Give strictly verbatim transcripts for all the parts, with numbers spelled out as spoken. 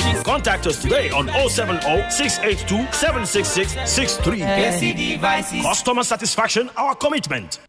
Contact us today on oh seven oh six eight two seven six six six three. Customer satisfaction, our commitment.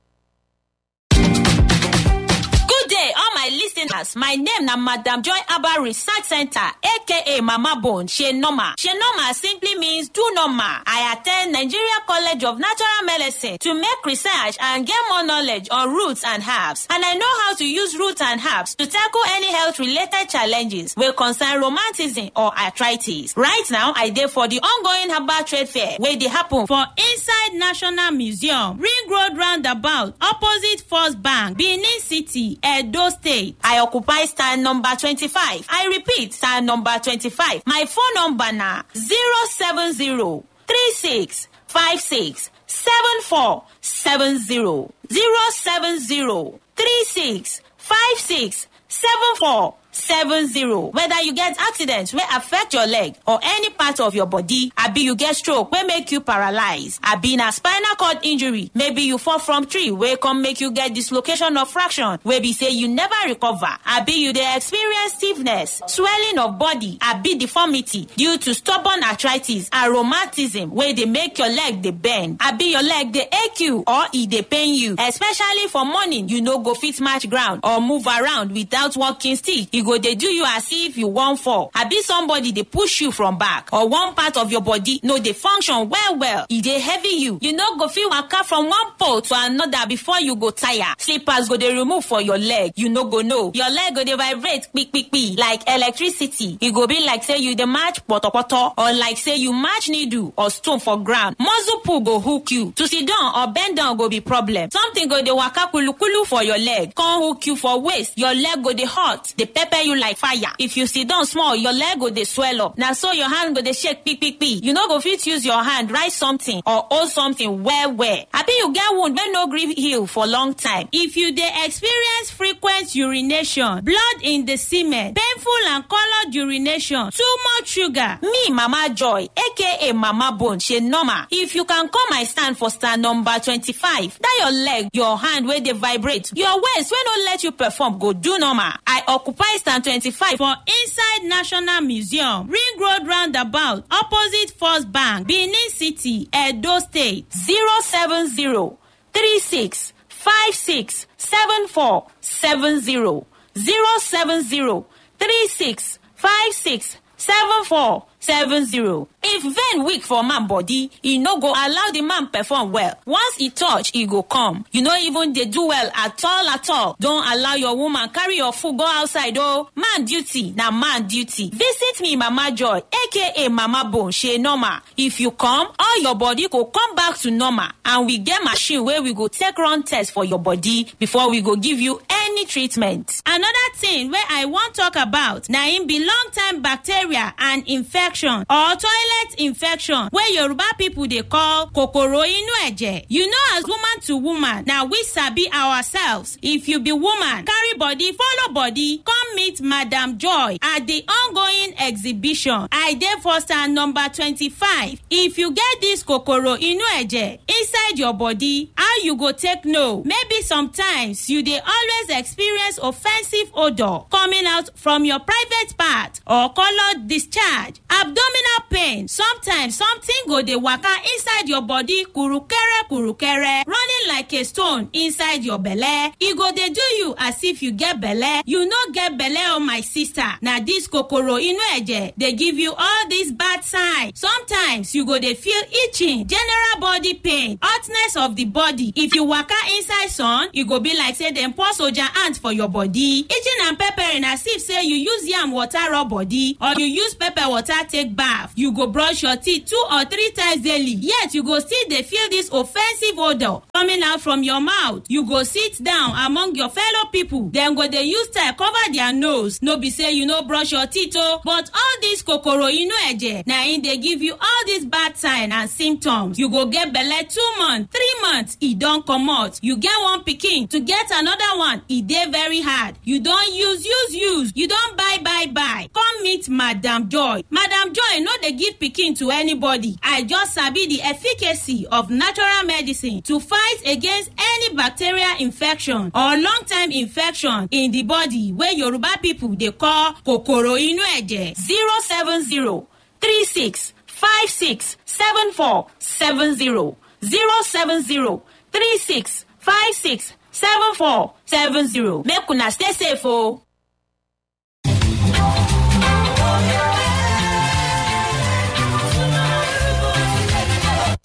Good day, all my listeners. My name na Madam Joy Abba Research Center, A K A Mama Bone. She normal. She normal simply means do normal. I attend Nigeria College of Natural Medicine to make research and get more knowledge on roots and herbs. And I know how to use roots and herbs to tackle any health-related challenges wey concern rheumatism or arthritis. Right now, I dey for the ongoing herbal trade fair wey dey happen for inside National Museum, Ring Road Roundabout, opposite First Bank, Benin City, Edo State. I occupy stand number twenty-five. I repeat, stand number twenty-five. My phone number na zero seven zero three six five six seven four seven zero. Zero seven zero three six five six seven four seven zero. Whether you get accident wey affect your leg or any part of your body, abi you get stroke wey make you paralyze, abi na spinal cord injury, maybe you fall from tree wey come make you get dislocation of fraction wey be say you never recover, abi you dey experience stiffness, swelling of body, abi deformity due to stubborn arthritis and rheumatism wey dey make your leg dey bend, abi your leg dey ache you or e dey pain you, especially for morning, you no go fit match ground or move around without walking stick. E go dey do you as if you wan fall. Abi somebody dey push you from back or one part of your body no dey function well well. E dey heavy you. You no go fit waka from one pole to another before you go tire. Slippers go dey remove for your leg. You no go know. Your leg go dey vibrate quick quick quick like electricity. E go be like say you dey match potopoto or like say you match needle or stone for ground. Muscle pull go hook you. To sit down or bend down go be problem. Something go dey waka kulu kulu for your leg, come hook you for waist. Your leg go dey hot, dey pepper you like fire. If you sit down small, your leg go dey swell up. Na so your hand go dey shake quick quick quick. You no go fit use your hand write something or hold something well well. Abi you get wound wey no gree heal for long time. If you dey experience frequent urination, blood in the semen, painful and colored urination, too much sugar. Me, Mama Joy, A K A Mama Bone, she normal. If you can come my stand for stand number twenty-five, that your leg, your hand wey dey vibrate, your waist wey no let you perform go do normal. I occupy stand twenty-five for inside National Museum, Ring Road Roundabout, opposite First Bank, Benin City, Edo State. Zero seven zero three six five six seven four seven zero. Zero seven zero three six five six seven four seven zero. If vein weak for man body, e no go allow the man perform well. Once e touch, e go come. You no even dey do well at all at all. Don't allow your woman carry your food go outside o. Man duty na man duty. Visit me, Mama Joy, A K A Mama Bone, she normal. If you come, all your body go come back to normal, and we get machine wey we go take run test for your body before we go give you any treatment. Another thing wey I wan talk about na im be long time bacteria and infection or toilet infection wey Yoruba people dey call kokoro inu eje. You know, as woman to woman, na we sabi ourselves. If you be woman, carry body, follow body, come meet Madam Joy at the ongoing exhibition. I dey for stand number twenty-five. If you get this kokoro inu eje inside your body, how you go take know? Maybe sometimes you dey always experience offensive odor coming out from your private part or colored discharge, abdominal pain. Sometimes something go dey waka inside your body, kurukere kurukere, running like a stone inside your belle. E go dey do you as if you get belle. You no get belle, oh my sister. Na this kokoro inu eje dey give you all these bad signs. Sometimes you go dey feel itching, general body pain, hotness of the body. If you waka inside sun, e go be like say dem pour soldier ant for your body. Itching and peppering as if say you use yam water rub body or you use pepper water take bath. You go brush your teeth two or three times daily, yet you go still dey feel this offensive odor coming out from your mouth. You go sit down among your fellow people. Dem go dey use tie cover their nose. No be say you no brush your teeth o, but all this kokoro inu eje na im dey give you all these bad sign and symptoms. You go get belle two months, three months, e don comot. You get one pikin, to get another one, e dey very hard. You don use, use, use. You don buy, buy, buy. Come meet Madam Joy. Madam Joy no dey give pikin to anybody. I just sabi the efficacy of natural medicine to fight against any bacterial infection or long-term infection in the body wey Yoruba people dey call kokoro inu eje. Zero seven zero three six five six seven four seven zero. Zero seven zero three six five six seven four seven zero. Make una stay safe o.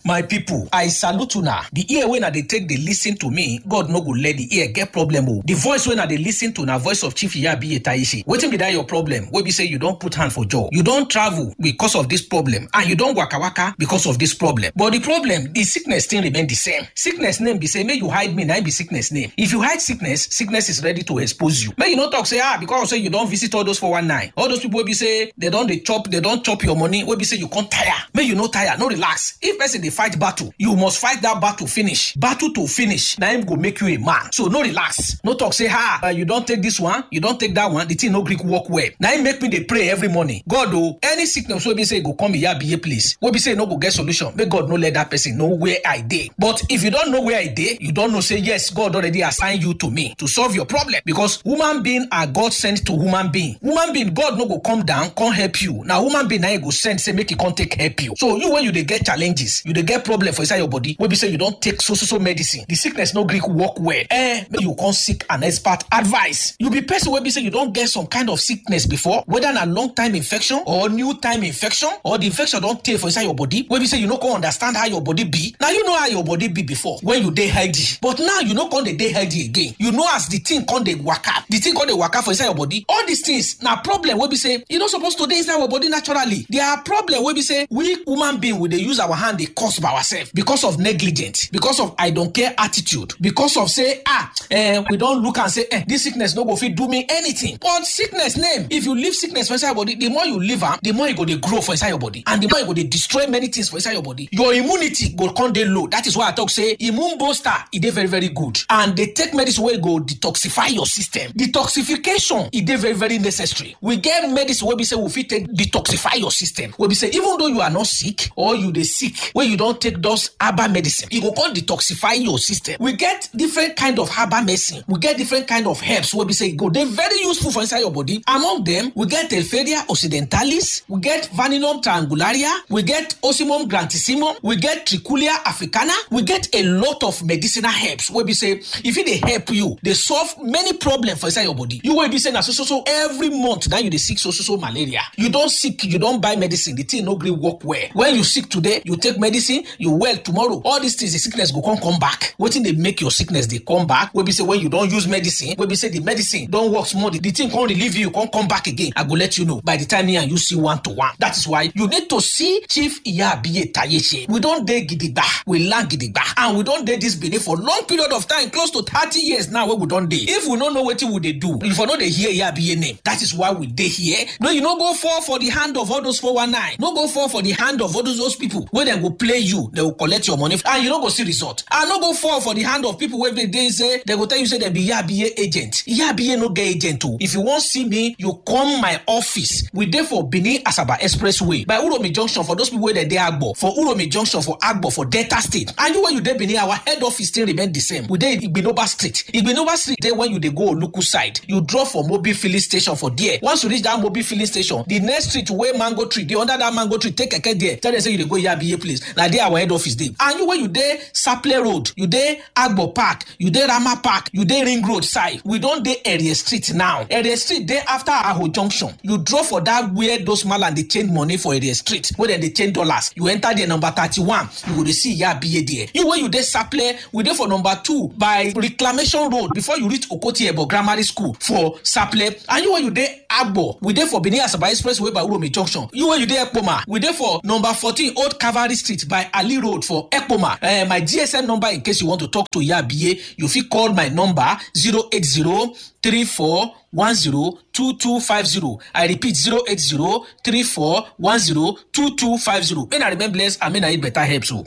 My people, I salute una. The ear wey na dey take dey listen to me, God no go let the ear get problem o. The voice wey na dey listen to na voice of Chief Iyabiye Taishi. Wetin be that your problem? Wey be say you don put hand for jaw. You don travel because of this problem, and you don waka waka because of this problem. But the problem, the sickness still remain the same. Sickness name be say, make you hide me, na im be sickness name. If you hide sickness, sickness is ready to expose you. Make you no talk say, ah, because say you don visit all those four one nine, all those people wey be say they don dey chop, they don chop your money, wey be say you come tire. Make you no tire, no relax. If person dey fight battle, you must fight that battle finish. Battle to finish, na im go make you a man. So no relax. No talk say, ah, uh, you don take this one, you don take that one, the thing no gree work well. Na im make me dey pray every morning. God o, any sickness wey be say e go come Iyabiye place, wey be say e no go get solution, make God no let that person know where I dey. But if you don know where I dey, you don know say yes, God already assign you to me to solve your problem, because human being are God sent to human being. Human being, God no go come down come help you. Na human being na im go send say make e come take help you. So you, when you dey get challenges, you dey get problem for inside your body, wey be say you don take so so so medicine, the sickness no gree work well. Eh, make you come seek an expert advice. You be person wey be say you don get some kind of sickness before, whether na long time infection or new time infection, or the infection don tey for inside your body, wey be say you no come understand how your body be. Now you know how your body be before when you dey healthy, but now you no come dey dey healthy again. You know as the thing come dey waka, the thing come dey waka for inside your body. All these things na problem wey be say e no suppose to dey inside your body naturally. There are problem wey be say we human being, we dey use our hand dey cause by ourselves because of negligence, because of I don't care attitude, because of say, ah, eh, we don look and say, eh, this sickness no go fit do me anything. But sickness name, if you leave sickness for inside your body, the more you leave am, the more e go dey grow for inside your body, and the more e go dey destroy many things for inside your body. Your immunity go come dey low. That is why I talk say immune booster, e dey very very good, and dey take medicine wey go detoxify your system. Detoxification, e dey very very necessary. We get medicine wey be say we fit take detoxify your system, wey be say even though you are not sick or you dey sick, wey you don take those herbal medicine, e go come detoxify your system. We get different kind of herbal medicine. We get different kind of herbs wey be say e go dey very useful for inside your body. Among them, we get Telferia occidentalis, we get Vanillum triangularia, we get Ocimum grantissimum, we get Trichulia africana, we get a lot of medicinal herbs wey be say if e dey help you, dey solve many problems for inside your body. You wey be say na so so so every month now you dey sick so so so malaria. You don sick, you don buy medicine, the thing no gree work well. When you sick today, you take medicine, you well tomorrow. All these things, the sickness go come come back. Wetin dey make your sickness dey come back? Wey be say when you don use medicine, wey be say the medicine don work small, the, the thing come relieve you, come come back again. I go let you know by the time me and you see one to one. That is why you need to see Chief Iyabiye Tayeche. We don dey gidigba, we land gidigba, and we don dey this Benin for long period of time, close to thirty years now wey we don dey. If we no know wetin we dey do, if we no dey hear Iyabiye name, that is why we dey here. No, you no go fall for the hand of all those four one nine. No go fall for the hand of all those, those people wey dem go play you, dem go collect your money, and you no go see result. And no go fall for the hand of people wey dey, dey say, dem go tell you say dem be Iyabiye agent. Iyabiye no get agent o. If you wan see me, you come my office. We dey for Benin Asaba Expressway by Uromi Junction for those people wey dey dey Agbo, for Uromi Junction for Agbo for Delta State. And you wey you dey Benin, our head office still remain the same. We dey Igbinoba Street. Igbinoba Street dey when you dey go Oluku side. You drop for Mobil filling station for there. Once you reach that Mobil filling station, the next street wey mango tree dey, under that mango tree, take keke there. Tell them say you dey go Iyabiye place. Na there our head office dey. And you wey you dey Saple Road, you dey Agbo Park, you dey Rama Park, you dey Ring Road side. We don dey Area Street now. Area Street dey after Aho Junction. You drop for that where those malam dey change money for Area Street, where dem dey change dollars. You enter there number thirty-one, you go dey see Iyabiye there. You wey you dey Saple, we dey for number two by Reclamation Road before you reach Okoti Ebo Grammar School for Saple. And you wey you dey Agbo, we dey for Benin Asaba Expressway by Uromi Junction. You wey you dey Ekpoma, we dey for number fourteen Old Cavalry Street by Ali Road for Ekpoma. Eh, my G S M number in case you want to talk to Iyabiye, you fit call my number zero eight zero three four one zero two two five zero. I repeat, zero eight zero three four one zero two two five zero. May I remain blessed and may I eat better herbs o.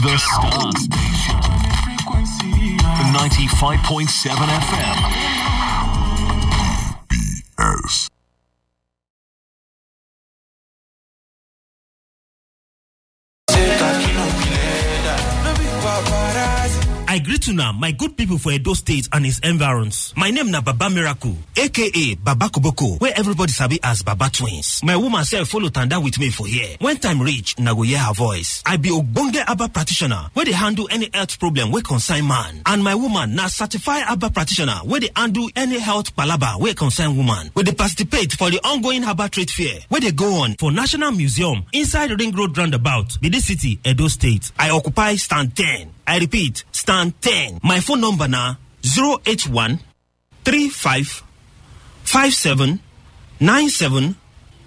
The Star Station. Ninety-five point seven F M. B S. I greet una, my good people for Edo State and its environs. My name na Baba Miracle, A K A Baba Koboko, where everybody sabi as Baba Twins. My woman sef follow tanda with me for here. When time reach, una go hear her voice. I be ogbonge Abba practitioner wey dey handle any health problem wey concern man. And my woman na certified Abba practitioner wey dey handle any health palaba wey concern woman. We dey participate for the ongoing Abba trade fair wey dey go on for National Museum inside Ring Road Roundabout, Benin City, Edo State. I occupy stand ten. I repeat, stand ten. My phone number na zero eight one three five five seven nine seven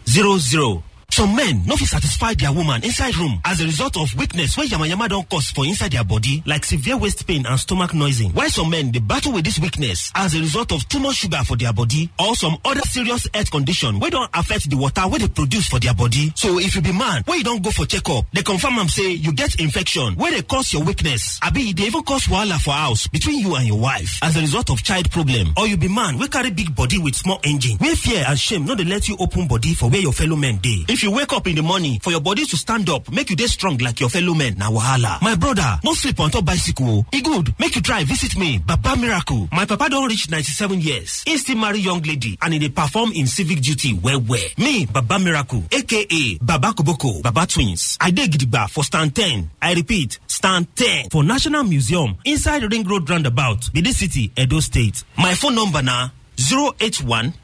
zero zero. Some men no fit satisfy their woman inside room as a result of weakness wey yamayama don cause for inside their body, like severe waist pain and stomach noising. Why some men dey battle with this weakness as a result of too much sugar for their body or some other serious health condition wey don affect the water wey dey produce for their body. So if you be man wey you don go for checkup, they confirm am say you get infection wey dey cause your weakness, abi e dey even cause wahala for house between you and your wife as a result of child problem, or you be man wey carry big body with small engine, where fear and shame no dey let you open body for where your fellow men dey. If you wake up in the morning for your body to stand up, make you dey strong like your fellow men, na wahala. My brother, no sleep on top bicycle o. E good, make you try visit me, Baba Miracle. My papa don reach ninety-seven years. He still marry young lady and he dey perform in civic duty well well. Me, Baba Miracle, A K A Baba Koboko, Baba Twins. I dey gidigba for stand ten. I repeat, stand ten for National Museum inside Ring Road Roundabout, Benin City, Edo State. My phone number na zero eight one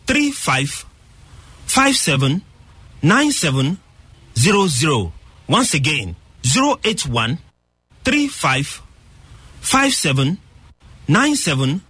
three five five seven nine seven zero zero. Once again, zero eight one three five five seven nine seven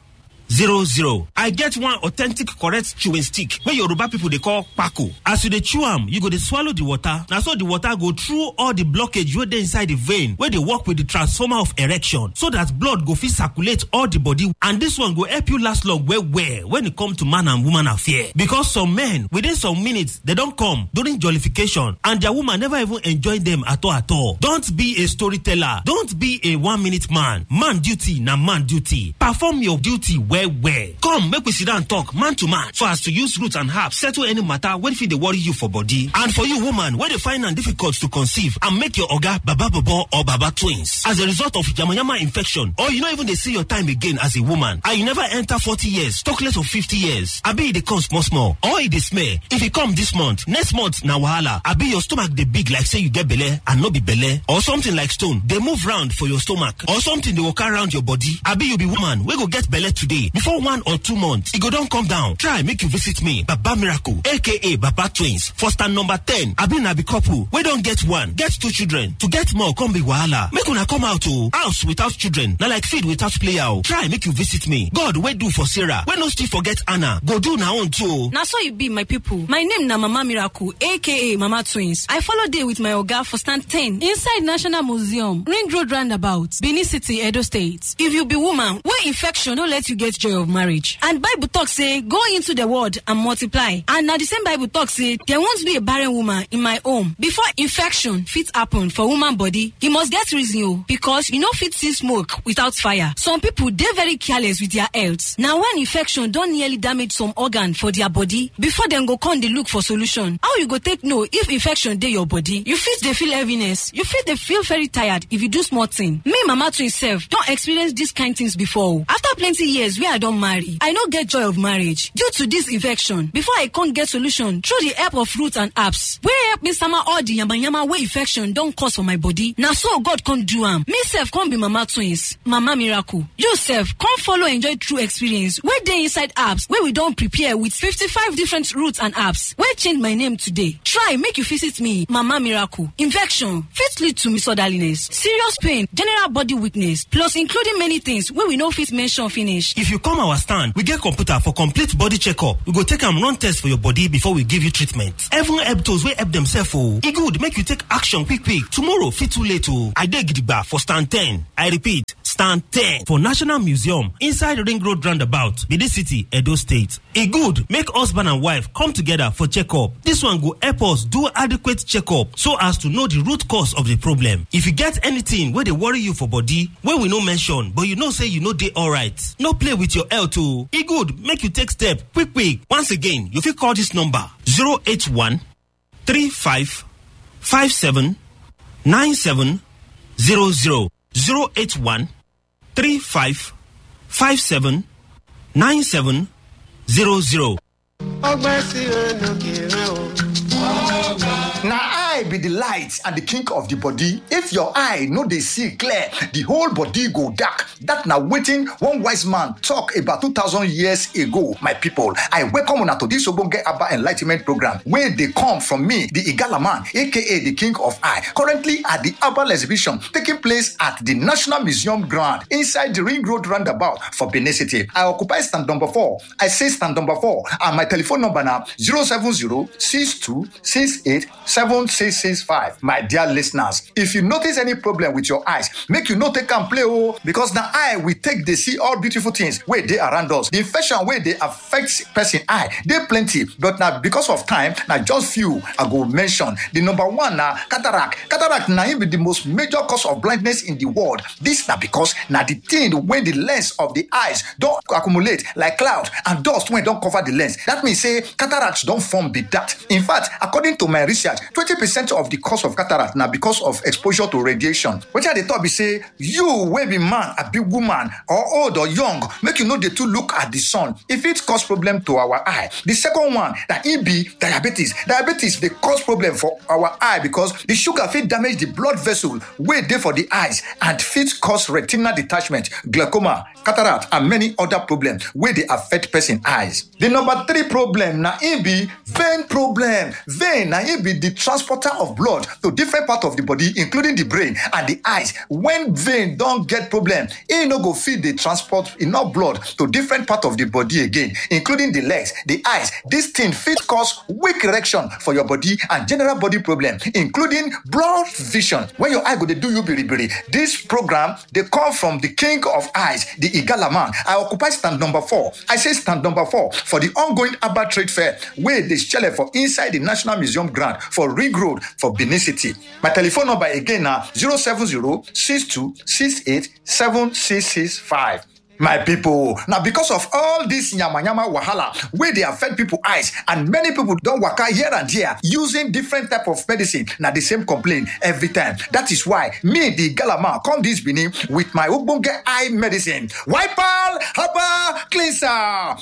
zero zero. I get one authentic correct chewing stick wey Yoruba people dey call kpako. As you dey chew am, you go dey swallow the water. Na so the water go through all the blockage wey dey inside the vein wey dey work with the transformer of erection, so that blood go fit circulate all the body. And this one go help you last long well well when it come to man and woman affair. Because some men, within some minutes, they don come during jollification and their woman never even enjoy them at all at all. Don't be a storyteller. Don't be a one minute man. Man duty na man duty. Perform your duty well well. Come, make we sit down talk man to man so as to use root and herb settle any matter wey fit dey worry you for body. And for you woman wey dey find am difficult to conceive and make your oga Baba Bobo or Baba Twins as a result of yamayama infection, or you no even dey see your time again as a woman, and you never enter forty years, talk less of fifty years, abi e dey come small small, or e dey smell. If e come this month, next month na wahala. Abi your stomach dey big like say you get belle and no be belle, or something like stone dey move round for your stomach, or something dey waka round your body. Abi you be woman wey go get belle today, before one or two months, e go don come down. Try make you visit me, Baba Miracle, A K A Baba Twins, for stand number ten. Abi na be couple wey don get one, get two children, to get more come be wahala. Make una come out o. House without children na like field without player o. Try make you visit me. God wey do for Sarah, wey no still forget Anna, go do na own too o. Na so e be, my people. My name na Mama Miracle, A K A Mama Twins. I follow dey with my oga for stand ten inside National Museum, Ring Road Roundabout, Benin City, Edo State. If you be woman wey infection no let you get joy of marriage, and Bible talk say, "Go into the world and multiply," and na the same Bible talk say, "There won't be a barren woman in my home." Before infection fit happen for woman body, e must get reason o, because you no fit see smoke without fire. Some people dey very careless with their health. Na when infection don nearly damage some organ for their body, before dem go come dey look for solution. How you go take know if infection dey your body? You fit dey feel heaviness. You fit dey feel very tired if you do small thing. Me, Mama Twin sef, don experience dis kind things before o. After plenty years wey I don marry, I no get joy of marriage due to dis infection. Before I come get solution through the help of roots and herbs wey help me sama all the yamayama wey infection don cause for my body, na so God come do am. Me sef come be Mama Twins, Mama Miracle. You sef come follow enjoy true experience wey dey inside herbs wey we don prepare with fifty-five different roots and herbs wey change my name today. Try make you visit me, Mama Miracle. Infection fit lead to misorderliness, serious pain, general body weakness, plus including many things wey we no fit mention finish. If you come our stand, we get computer for complete body checkup. We go take am run test for your body before we give you treatment. Even help those wey help themselves o. E good make you take action quick quick. Tomorrow fit too late o. I dey gidigba for stand ten. I repeat, stand ten for National Museum inside Ring Road Roundabout, Benin City, Edo State. E good make husband and wife come together for checkup. This one go help us do adequate checkup so as to know the root cause of the problem. If you get anything wey dey worry you for body wey we no mention, but you know say you no dey alright, no play with your health o. E good make you take step quick quick. Once again, you fit call this number: zero eight one three five five seven nine seven zero zero. Zero eight one three five five seven nine seven zero zero. Ọgbẹ́ sí olókè rẹ̀ o. Na eye be the light and the king of the body. If your eye no dey see clear, the whole body go dark. That na wetin one wise man talk about two thousand years ago. My people, I welcome una to this ogbonge Abba Enlightenment program wey dey come from me, the Igala man, A K A the king of eye. Currently at the Herbal exhibition taking place at the National Museum ground inside the Ring Road roundabout for Benin City. I occupy stand number four. I say stand number four, and my telephone number na zero seven zero six two six eight seven six six five. My dear listeners, if you notice any problem with your eyes, make you no take am play o, because na eye we take dey see all beautiful things wey dey around us. The infection wey dey affect person eye dey plenty, but na because of time, na just few I go mention. The number one na cataract. Cataract na im be the most major cause of blindness in the world. This na because na the thing wey the lens of the eyes don accumulate like cloud and dust wey don cover the lens. That means say cataract don form be that. In fact, according to my research, twenty percent of the cause of cataract na because of exposure to radiation. Wetin I dey talk be say, you wey be man, abi woman, or old or young, make you no dey too look at the sun. E fit cause problem to our eye. The second one na e be diabetes. Diabetes dey cause problem for our eye because the sugar fit damage the blood vessel wey dey for the eyes and fit cause retinal detachment, glaucoma, cataract, and many other problems wey dey affect person eyes. The number three problem na im be vein problem. Vein na im be the transporter of blood to different part of the body, including the brain and the eyes. When vein don get problem, e no go fit dey transport enough blood to different part of the body again, including the legs, the eyes. This thing fit cause weak erection for your body and general body problem, including blurred vision. When your eye go dey do you biribiri, this program dey come from the king of eyes, the Igala man. I occupy stand number four. I say stand number four for the ongoing Abba Trade Fair wey dey shele for inside the National Museum ground for Ring Road for Benin City. My telephone number again na zero seven zero six two six eight seven six six five. My people, now because of all this yama yama wahala wey dey affect people eyes, and many people don waka here and there using different type of medicine, na the same complaint every time. That is why me, the Galama, come this Benin with my ogbonge eye medicine, Wipal Herbal Cleanser.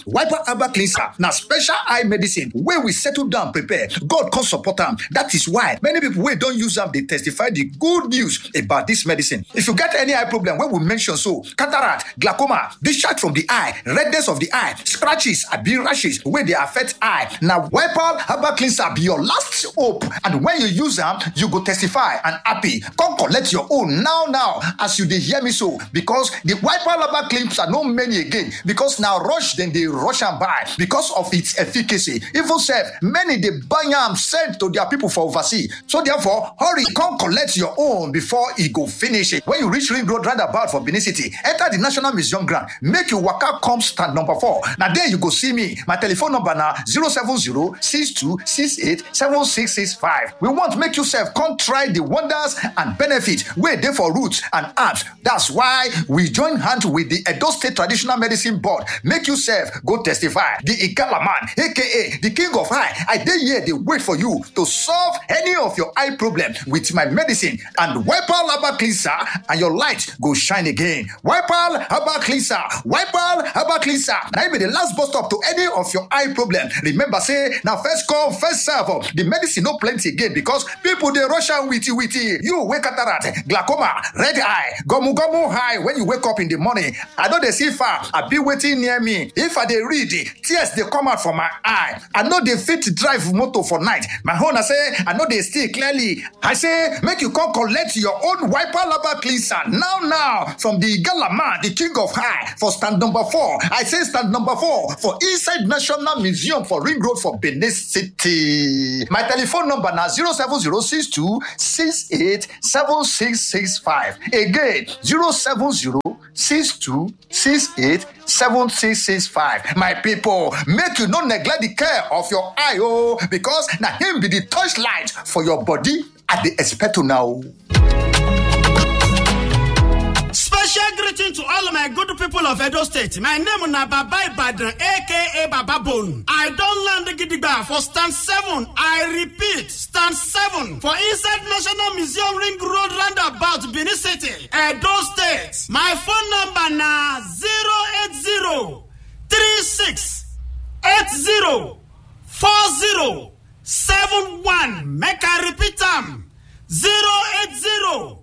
Wipal Herbal Cleanser na special eye medicine wey we settle down prepare. God come support am. That is why many people wey don use am dey testify the good news about this medicine. If you get any eye problem wey we mention so, cataract, glaucoma, discharge from the eye, redness of the eye, scratches, abi rashes wey dey affect eye, na Wipal Herbal Cleanser be your last hope. And when you use am, you go testify and happy. Come collect your own now now as you dey hear me so, because the Wipal Herbal Cleanser no many again, because na rush dem dey rush am buy because of its efficacy. Even sef, many dey buy am send to their people for overseas. So therefore, hurry, come collect your own before e go finish. When you reach Ring Road roundabout for Benin City, enter the National Museum ground, make you waka come stand number four. Na there you go see me. My telephone number na zero seven zero six two six eight seven six six five. We want make you sef come try the wonders and benefit wey dey for roots and herbs. That's why we join hand with the Edo State Traditional Medicine Board. Make you sef go testify. The Igala man, A K A the king of eye, I dey here dey wait for you to solve any of your eye problem with my medicine and Wipal Herbal Cleanser, and your light go shine again. Wipal Herbal Cleanser, Wipal Herbal Cleanser. Na im be the last bus stop to any of your eye problem. Remember say na first come, first serve. The medicine no plenty again because people dey rush am witty witty. You wey cataract, glaucoma, red eye, gomu gomu eye when you wake up in the morning. I no dey see far, abi wetin near me. If I dey read, tears dey come out for my eye. I no dey fit drive motor for night. My own na say I no dey see clearly. I say make you come collect your own Wipal Herbal Cleanser now now from the Igala man, the king of eye, for stand number four. I say stand number four for inside National Museum for Ring Road for Benin City. My telephone number na zero seven zero six two six eight seven six six five. Again, zero seven zero six two six eight seven six six five. My people, make you no neglect the care of your eye, oh, because na him be the torchlight for your body. I dey expect you now. Special greeting to all my good people of Edo State. My name na Baba Ibadan, A K A Baba Bone. I don land gidigba for stand seven. I repeat, stand seven for inside National Museum Ring Road roundabout, Benin City, Edo State. My phone number na zero eight zero three six eight zero four zero seven one. Make I repeat am, zero eight zero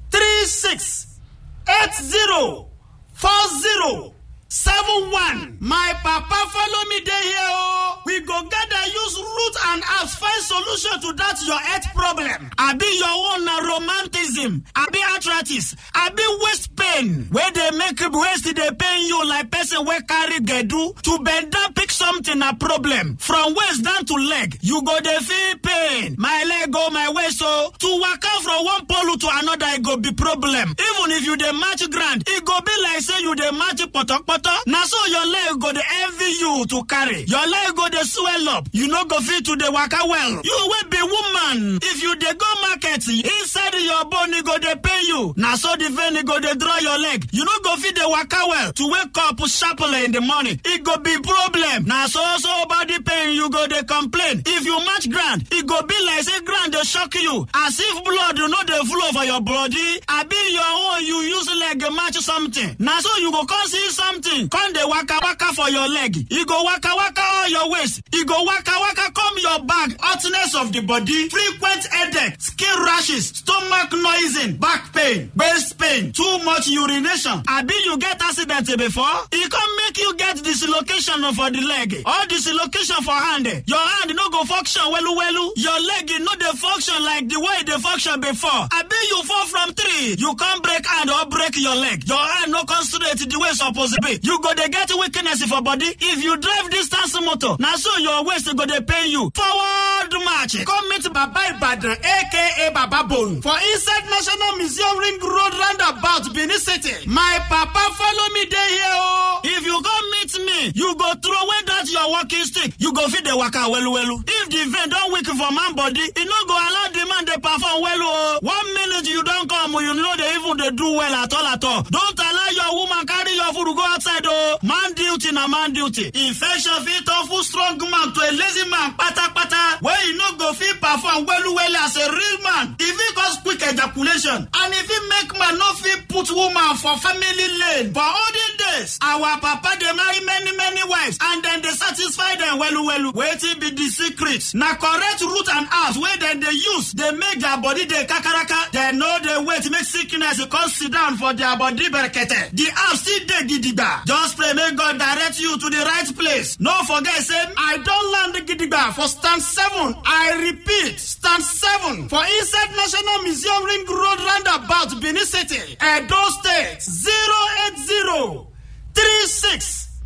three six eight zero four zero seven one. My papa follow me dey here o. We go gather use root and herbs find solution to that your health problem. Abi your own na romanticism, abi arthritis, abi waist pain wey dey make waist dey pain you like person wey carry gbedu. To bend down pick something na problem. From waist down to leg, you go dey feel pain. My leg o, my waist o. To waka from one pole to another, e go be problem. Even if you dey match ground, e go be like say you dey match potopoto. Na so your leg go dey envy you to carry. Your leg go dey swell up. You no go fit to dey waka well. You wey be woman, if you dey go market, inside your bone e go dey pain you. Na so the vein e go dey draw your leg. You no go fit dey waka well. To wake up sharply in the morning, e go be problem. Na so so body pain you go dey complain. If you match ground, e go be like say ground dey shock you, as if blood no dey flow for your body. Abi your own, you use leg match something. Na so you go come see something come dey waka waka for your leg. E go waka waka all your waist. E go waka waka come your back. Hotness of the body, frequent headache, skin rashes, stomach noising, back pain, waist pain, too much urination. Abi you get accident before? E come make you get dislocation for the leg or dislocation for hand. Your hand no go function well well. Your leg no dey function like the way e dey function before. Abi you fall from tree, you come break hand or break your leg. Your hand no come straight the way e suppose be. You go dey get weakness for body. If you drive distance motor, na so your waist go dey pain you. Forward march. Come meet Baba Ibadan, A K A Baba Bone, for inside National Museum Ring Road roundabout, Benin City. My papa follow me dey here o. If you come meet me, you go throw away that your walking stick. You go fit dey waka well well. If the vein don weak for man body, e no go allow the man dey perform well o. One minute you don come, you no dey even dey do well at all at all. Don't allow your woman carry your food go outside o. Man duty na man duty. Infection fit turn full strong man to a lazy man patapata, wey e no go fit perform well well as a real man. E fit cause quick ejaculation, and e fit make man no fit put woman for family lane. For olden days, our papa dey marry many many wives and dem dey satisfy dem well well. Wetin be the secret? Na correct root and herbs wey dem dey use dey make their body dey kakaraka. Dem no dey wait make sickness come sit down for their body berekete. The herbs still dey gidigba. Just pray make God direct you to the right place. No forget say I don land gidigba for stand seven. I repeat, stand seven for inside National Museum Ring Road roundabout, Benin City, Edo State, zero eight zero three six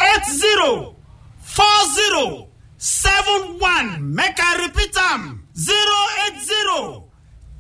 eight zero four zero seven one. Make I repeat am, zero eight zero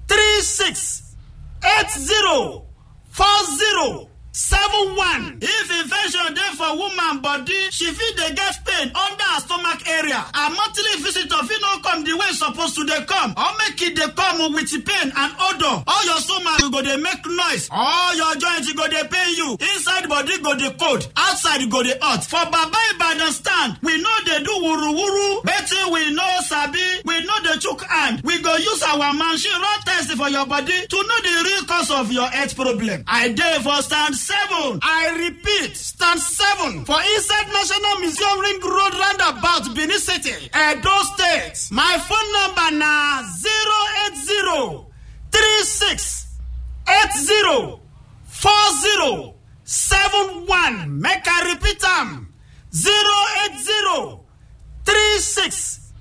three six eight zero four zero seven one. If infection dey for woman body, she fit dey get pain under her stomach area. Her monthly visitor fit no come the way e suppose to dey come, or make e dey come with pain and odour. All your stomach go dey make noise, all your joints go dey pain you, inside body go dey cold, outside go dey hot. For Baba Ibadan stand, we no dey do wuru wuru. Wetin we no sabi, we no dey chook hand. We go use our machine run test for your body to know the real cause of your health problem. I dey for stand seven. I repeat, stand seven for inside National Museum Ring Road roundabout, Benin City, Edo State. My phone number na zero eight zero three six eight zero four zero seven one. Make I repeat am, zero eight zero three six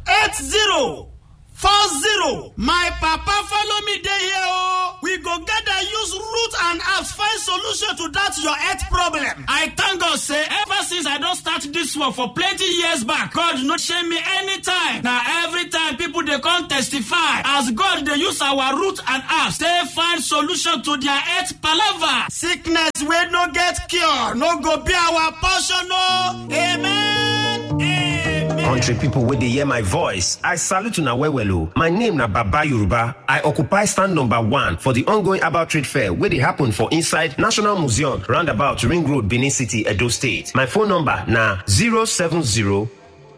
eight zero four zero. My papa follow me dey here o. We go gather use root and herbs find solution to that your health problem. I thank God say ever since I don start this work for plenty years back, God no shame me anytime. Na every time people dey come testify as God dey use our root and herbs take find solution to their health palava. Sickness wey no get cure no go be our portion o. Amen. Amen. Country people wey dey hear my voice, I salute una well well o. My name na Baba Yoruba. I occupy stand number one for the ongoing herbal trade fair wey dey happen for inside National Museum, roundabout Ring Road, Benin City, Edo State. My phone number na zero seven zero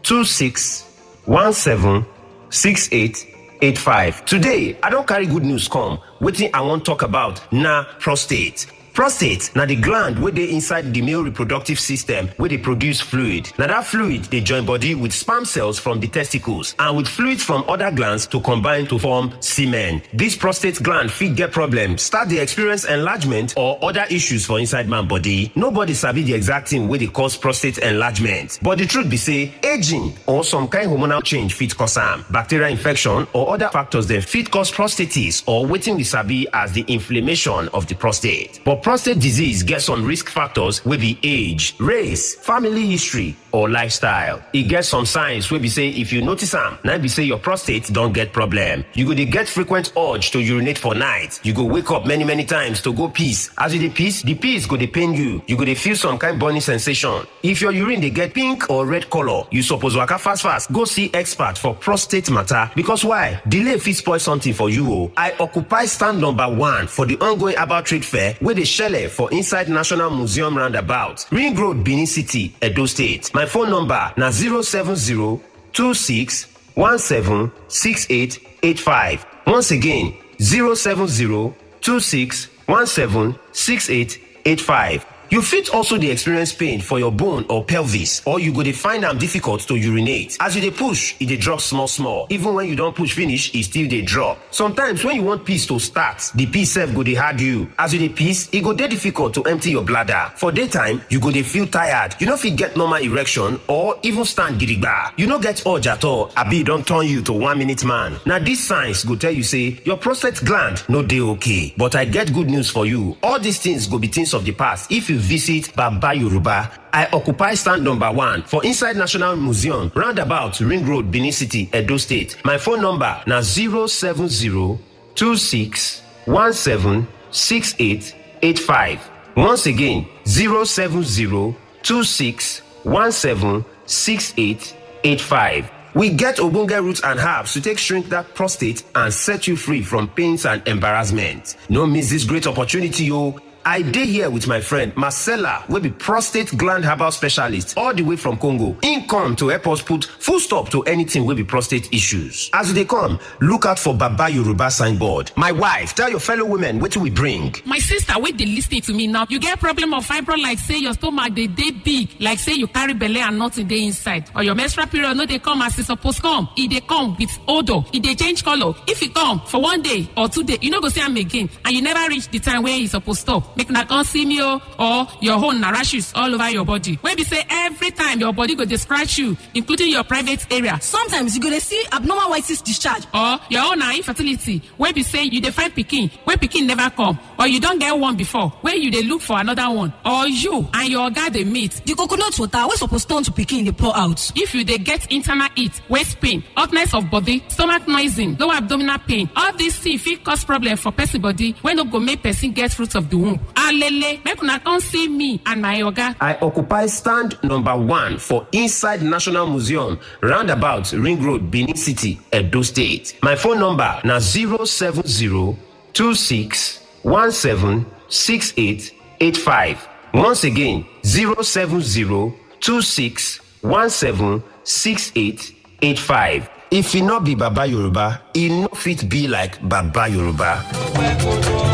two six one seven six eight eight five. Today, I don carry good news come. Wetin I wan talk about na prostate. Prostate na the gland wey dey inside the male reproductive system wey dey produce fluid. Na that fluid dey join body with sperm cells from the testicles and with fluids from other glands to combine to form semen. This prostate gland fit get problem, start dey experience enlargement or other issues for inside man body. Nobody sabi the exact thing wey dey cause prostate enlargement, but the truth be say aging or some kind hormonal change fit cause am. Bacterial infection or other factors dem fit cause prostatitis or wetin we sabi as the inflammation of the prostate. But prostate disease get some risk factors wey be age, race, family history, or lifestyle. E get some signs wey be say if you notice am, na be say your prostate don get problem. You go dey get frequent urge to urinate for night. You go wake up many many times to go piss. As you dey piss, the piss go dey pain you. You go dey feel some kind burning sensation. If your urine dey get pink or red color, you suppose waka fast fast go see expert for prostate matter. Because why? Delay fit spoil something for you o. I occupy stand number one for the ongoing herbal trade fair wey dey shele for inside National Museum roundabout, Ring Road, Benin City, Edo State. My phone number na zero seven zero two six one seven six eight eight five. Once again, zero seven zero two six one seven six eight eight five. You fit also dey experience pain for your bone or pelvis, or you go dey find am difficult to urinate. As you dey push, e dey drop small small. Even when you don push finish, e still dey drop. Sometimes when you want piss to start, the piss sef go dey hard you. As you dey piss, e go dey difficult to empty your bladder. For daytime, you go dey feel tired. You no fit get normal erection or even stand gidigba. You no get urge at all, abi e don turn you to one minute man. Na these signs go tell you say your prostate gland no dey okay. But I get good news for you. All these things go be things of the past if you visit Baba Yoruba. I occupy stand number one for inside National Museum, roundabout Ring Road, Benin City, Edo State. My phone number na zero seven zero two six one seven six eight eight five. Once again, zero seven zero two six one seven six eight eight five. We get ogbonge roots and herbs to take shrink that prostate and set you free from pains and embarrassment. No miss this great opportunity o. I dey here with my friend Marcella, wey be prostate gland herbal specialist all the way from Congo. Im come to help us put full stop to anything wey be prostate issues. As you dey come, look out for Baba Yoruba signboard. My wife, tell your fellow women wetin we bring. My sister wey dey listen to me now, you get problem of fibroid, like say your stomach dey dey big, like say you carry belle and nothing dey inside, or your menstrual period no dey come as e suppose come, e dey come with odour, e dey change colour. If e come for one day or two day, you no go see am again, and you never reach the time wey e suppose stop. Make una come see me o. Or your own na rashes all over your body, wey be say every time your body go dey scratch you, including your private area. Sometimes you go dey see abnormal white cyst discharge. Or your own na infertility, wey be say you dey find pikin, wey pikin never come, or you don get one before, wey you dey look for another one, or you and your oga dey meet. The coconut water wey suppose turn to pikin dey pour out. If you dey get internal heat, waist pain, hotness of body, stomach noising, low abdominal pain, all these things fit cause problem for person body wey no go make person get fruit of the womb. Alele, make una come see me and my oga. I occupy stand number one for inside National Museum, roundabout Ring Road, Benin City, Edo State. My phone number na zero seven zero two six one seven six eight eight five. Once again, zero seven zero two six one seven six eight eight five. If e no be Baba Yoruba, e no fit be like Baba Yoruba.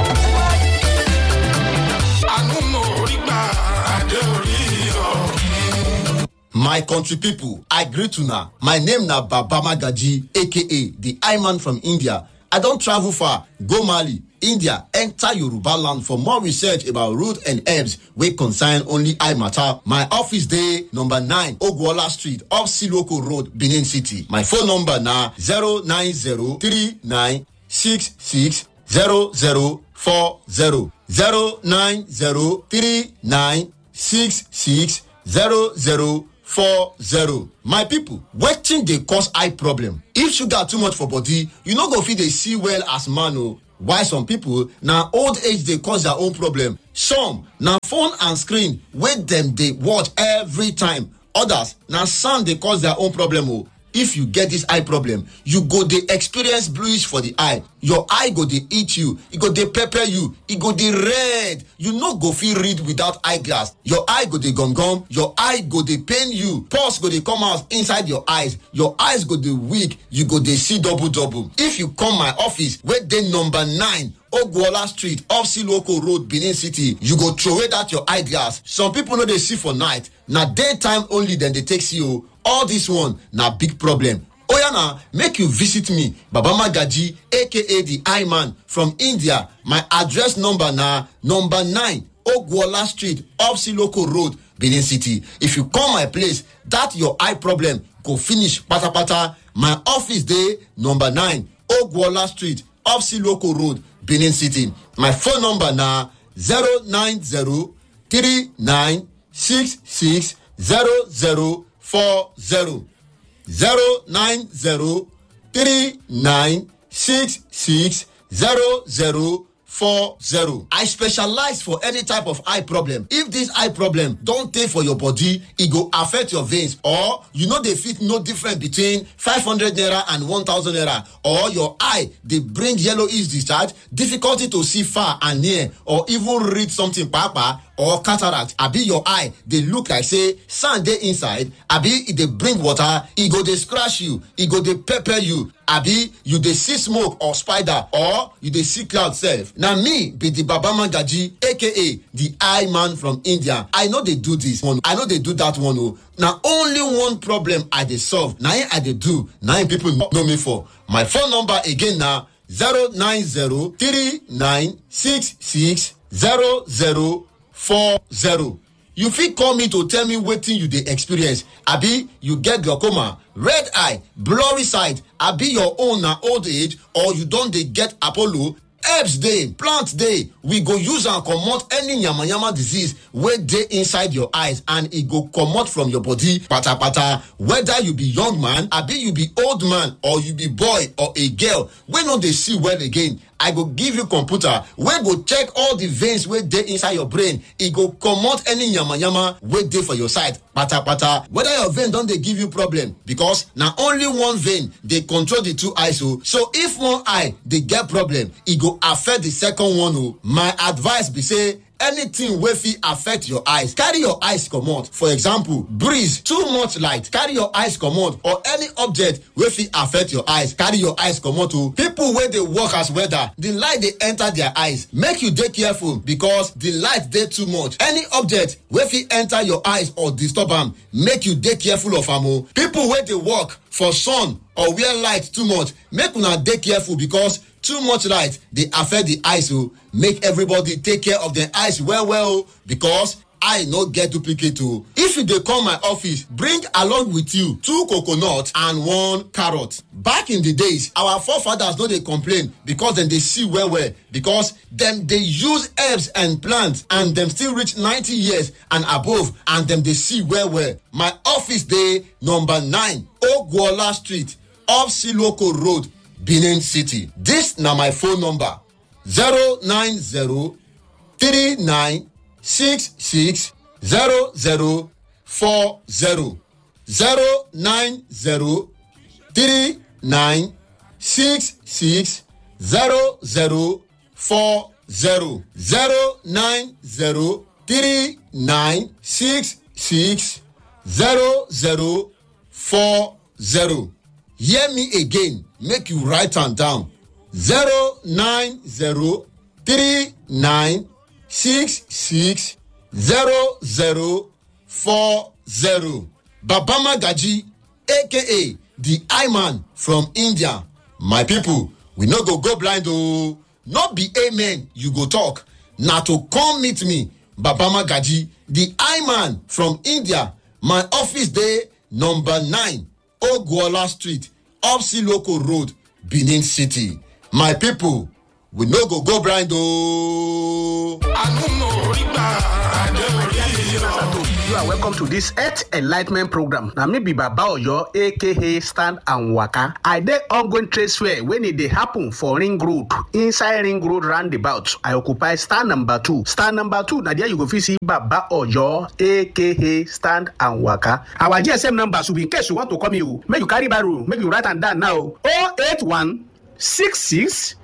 My country people, I greet una. My name na Baba Magaji, A K A the I Man from India. I don travel far, go Mali, India, enter Yoruba land for more research about root and herbs wey concern only eye matter. My office dey number nine Ogwola Street, off Siloko Road, Benin City. My phone number na zero nine zero three nine six six zero zero four zero. Zero nine zero three nine six six zero zero four zero. My people, wetin dey cause eye problem? If sugar too much for body, you no go fit dey see well as man o. Why some people na old age dey cause their own problem. Some na phone and screen wey dem dey watch every time. Others na sand dey cause their own problem o. If you get this eye problem, you go dey experience bluish for the eye. Your eye go dey eat you, e go dey pepper you, e go dey red. You no go fit read without eyeglass. Your eye go dey gum gum, your eye go dey pain you. Pulse go dey come out inside your eyes. Your eyes go dey weak, you go dey see double double. If you come my office wey dey number nine Ogwuola Street off Siloko Road, Benin City, you go throway that your eyeglass. Some people no dey see for night, na daytime only dem dey take see o. All this one na big problem. Oya na, make you visit me, Baba Magaji, A K A the Eye Man from India. My address number na number nine Ogwuola Street off Siloko Road, Benin City. If you come my place, that your eye problem go finish patapata. My office dey number nine Ogwuola Street off Siloko Road, Benin City. My phone number na zero nine zero three nine six six zero zero four zero. Zero nine zero three nine six six zero zero four zero. I specialize for any type of eye problem. If this eye problem don tey for your body, e go affect your veins, or you no dey fit know difference between five hundred naira and one thousand naira, or your eye dey bring yellowish discharge, difficulty to see far and near, or even read something papa, or cataract, abi your eye dey look like say sand dey inside, abi e dey bring water, e go dey scratch you, e go dey pepper you, abi you dey see smoke or spider, or you dey see cloud sef. Na me be the Baba Magaji, A K A the Eye Man from India. I no dey do this one, I no dey do that one o. Na only one problem I dey solve, na im I dey do, na im people know me for. My phone number again na zero nine zero three nine six six zero zero four zero. You fit call me to tell me wetin you dey experience. Abi you get glaucoma, red eye, blurry sight, abi your own na old age, or you don dey get Apollo? Herbs dey, plant dey, we go use am comot any yamayama disease wey dey inside your eyes, and e go comot from your body patapata. Whether you be young man, abi you be old man, or you be boy or a girl wey no dey see well again, I go give you computer wey go check all the veins wey dey inside your brain. E go comot any yamayama wey dey for your side patapata. Whether your vein don dey give you problem, because na only one vein dey control the two eyes o. So if one eye dey get problem, e go affect the second one o. My advice be say, anything wey fit affect your eyes, carry your eyes comot. For example, breeze, too much light, carry your eyes comot, or any object wey fit affect your eyes, carry your eyes comot o. People wey dey work as welder, the light dey enter their eyes. Make you dey careful, because the light dey too much. Any object wey fit enter your eyes or disturb am, make you dey careful of am o. People wey dey work for sun or wear light too much, make una dey careful, because too much light dey affect the eyes o. Make everybody take care of their eyes well well o, because eye no get duplicate o. If you dey come my office, bring along with you two coconut and one carrot. Back in the days, our forefathers no dey complain because dem dey see well well, because dem dey use herbs and plants, and dem still reach ninety years and above, and dem dey see well well. My office dey number nine Ogwuola Street, off Siloko Road, Benin City. This na my phone number: zero nine zero three nine six six zero zero four zero. Zero nine zero three nine six six zero zero four zero. Zero nine zero three nine six six zero zero four zero. Hear me again, make you write am down: zero nine zero three nine six six zero zero four zero. Baba Magaji, A K A the Eye Man from India. My people, we no go go blind o. No be amen you go talk. Na to come meet me, Baba Magaji, the Eye Man from India. My office dey number nine Ogwuola Street, off Siloko Road, Benin City. My people, We no go go blind o. You are welcome to this Earth Enlightenment program. Na me be Baba Oyo, A K A Stand and Waka. I dey ongoing trade fair when e dey happen for Ring Road, inside Ring Road roundabout. I occupy stand number two. Stand number two, na there you go fit see Baba Oyo, A K A Stand and Waka. Our G S M number should be in case you want to call me o. Make you carry barrow, make you write am down now. Oh eight one six six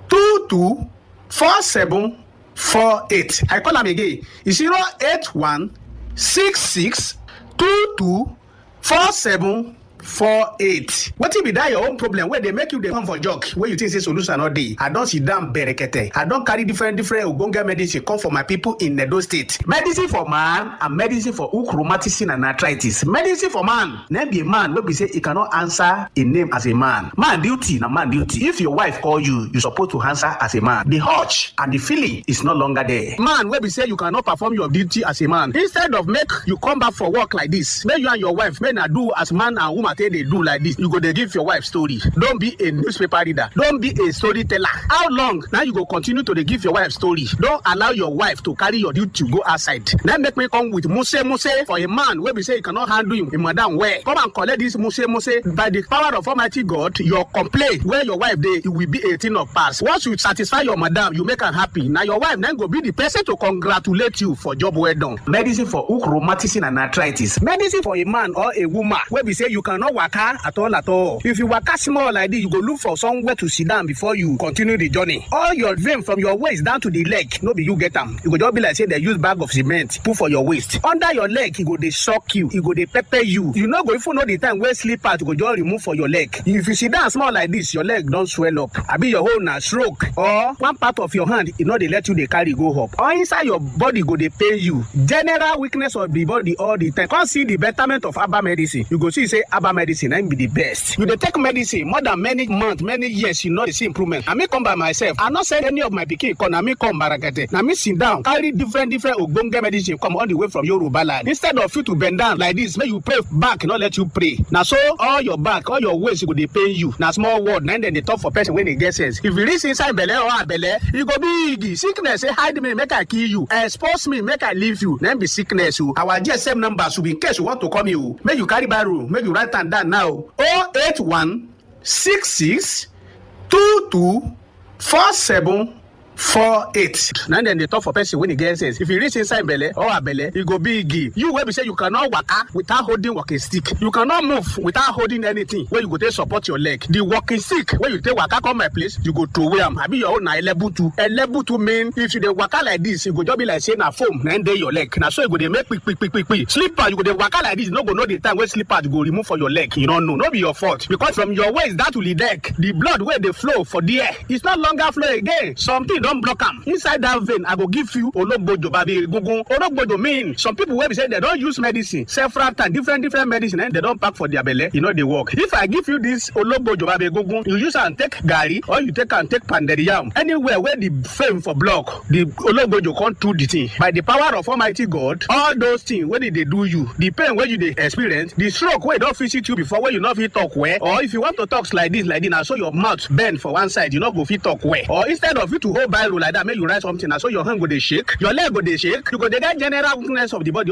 two two four seven four eight. I call am again. It's zero eight one six six two two four seven four eight. Wetin be that your own problem wey dey make you dey come for jog, wey you think say solution no dey? I don sit down berekete. I don carry different different ogbonge medicine come for my people in Edo State. Medicine for man and medicine for hook, rheumatism and arthritis. Medicine for man, na be a man wey be say he cannot answer a name as a man. Man duty na man duty. If your wife call you, you suppose to answer as a man. The urge and the feeling is no longer there. Man wey be say you cannot perform your duty as a man. Instead of make you come back for work like this, make you and your wife, make na do as man and woman take dey do like this. You go dey give your wife story. Don't be a newspaper reader. Don't be a storyteller. How long now you go continue to dey give your wife story? Don't allow your wife to carry your duty go outside. Now make me come with muse muse for a man wey be say he cannot handle him, him madam well. Come and collect this muse muse. By the power of Almighty God, your complaint where your wife dey, it will be a thing of past. Once you satisfy your madam, you make am happy. Now your wife then go be the person to congratulate you for job well done. Medicine for hook, rheumatism and arthritis. Medicine for a man or a woman wey be say you cannot waka at all at all. If you waka small like this, you go look for somewhere to sit down before you continue the journey. All your vein from your waist down to the leg, no be you get am. You go just be like say they use bag of cement put for your waist. Under your leg, e go dey shock you, e go dey pepper you. You no go even know the time wey slippers go just remove for your leg. If you sit down small like this, your leg don swell up. Abi your own na stroke, or one part of your hand, e no dey let you dey carry go up. Or inside your body go dey pain you. General weakness of the body all the time. Come see the betterment of herbal medicine. You go see say herbal medicine na im be the best. You dey take medicine more than many months, many years, you no dey see improvement. Na me come by myself. I no send any of my pikin come. Na me come barakete. Na me sit down, carry different different ogbonge medicine come all the way from Yoruba land. Instead of you to bend down like this, make you pray back, no let you pray. Na so all your back, all your waist go dey pain you. Na small word, na im dem dey talk for person wey dey get sense. If you reach inside belle or abelle, e go be igi. Sickness say, "Hide me, make I kill you. Expose me, make I leave you." Na im be sickness o. Our G S M number should be in case you want to call me o. Make you carry barrow, make you write am down now. Oh eight one six six two two four seven four eight. Na dem dey talk for person wey dey get sense. If you reach inside belle or abelle, e go be igi. You wey be say you cannot waka without holding walking stick. You cannot move without holding anything wey you go take support your leg. The walking stick wey you take waka come my place, you go throw away am. Abi your own na elebutu. Elebutu mean if you dey waka like this, e go just be like say na foam na im dey your leg. Na so e go dey make quick, quick, quick, quick, quick. Slipper, you go dey waka like this, you no go know the time wey slipper go remove for your leg. You no know, no be your fault. Because from your waist down to the deck, the blood wey dey flow for there, it's no longer flow again. Something don block am. Inside that vein, I go give you ologbojo babi egungun. Ologbojo mean some people wey be say they don use medicine several times, different, different medicine, and they don pack for their belle, e no dey work. If I give you this ologbojo babi egungun, you use am take garri or you take am take pounded yam. Anywhere where the fame for block, the ologbojo come do the thing. By the power of Almighty God, all those things wey dey dey do you, the pain wey you dey experience, the stroke wey don visit you before, wey you no fit talk well, or if you want to talk like this, like this, na so your mouth bend for one side, you no go fit talk well. Or instead of you to hold biro like that, make you write something, na so your hand go dey shake, your leg go dey shake, you go dey get general weakness of the body.